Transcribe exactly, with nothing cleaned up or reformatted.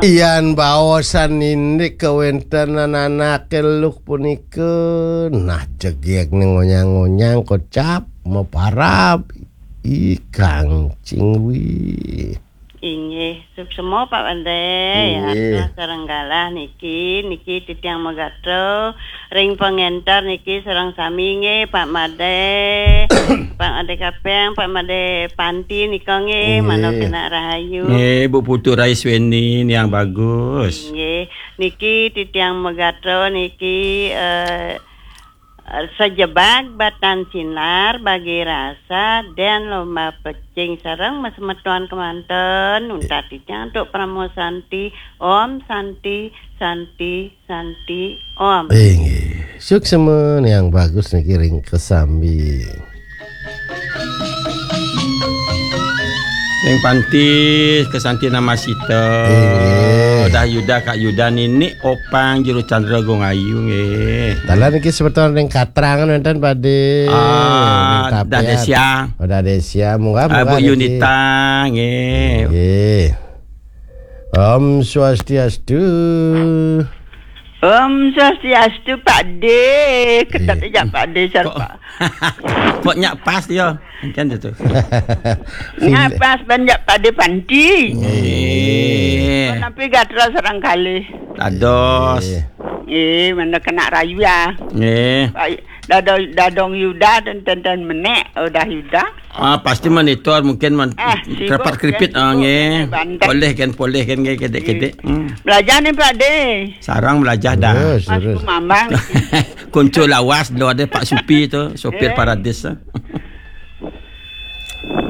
Yan baosan indik kawéntenan anaké luh punika, nah jegég né ngonyang-ngonyang kocap maparab ikang cingwi. Inggih, suksma Pak Madé, ya, inggih. Sareng galah niki, niki titiang magatra ring pangénter niki sareng sami nggih, Pak Madé, Pak Madé Kapéng, Pak Madé Panti nika nggih, inggih. Manah kenak rahayu. Nggih, Bu Putu Rais Weni niang bagus. Inggih, niki titiang magatra niki, eh, sajebag batan sinar bagi rasa dan lomba pecing sareng masemeton kemanten untat titiang antuk Parama Santi. Om Santi, Santi, Santi, Om. Inggih, suksma niang bagus niki ring kesambi. Ning Panti, kesanti namasita. Inggih. Dah Yuda, Kak Yuda, Nini Opang, Juru Chandra, Gung Ayu, nggih. Taler niki semeton ring Katrangan wénten Padé. Ah, ring Tapian. Dah Desia. Oh, Dah Desia, munggah, ah, munggah Bu niki. Yunita, nggih. Nggih. Om Swastiastu. Om Swastiastu, Pak Dé. Kedap, iya, aja Pak Dé, sar, kok, Pak. Kok nyak pas dia? Kan itu. Nyak pas ban nyak Pak Dé Panti. Iya. Napi gatra sareng kalih? Dados. Iya. Eh, mana kenak rayu ya? Iya. Pak, Dadong, Dadong Yuda dan Tenten Menek, udah Yuda. Ah, pasti monitor mungkin man-, ah, sibuk, kerepit-kerepit, ya, ah, sibuk, nggih. Banten. Polih kan, polih kan, nggih, kedek-kedek. Iya. Hmm. Belajar nih, Pak Dé. Sarang belajar dah. Terus, mas terus. Kumambang. Kunci lawas, dulu ada Pak Supi tu, sopir, eh, Paradis tu.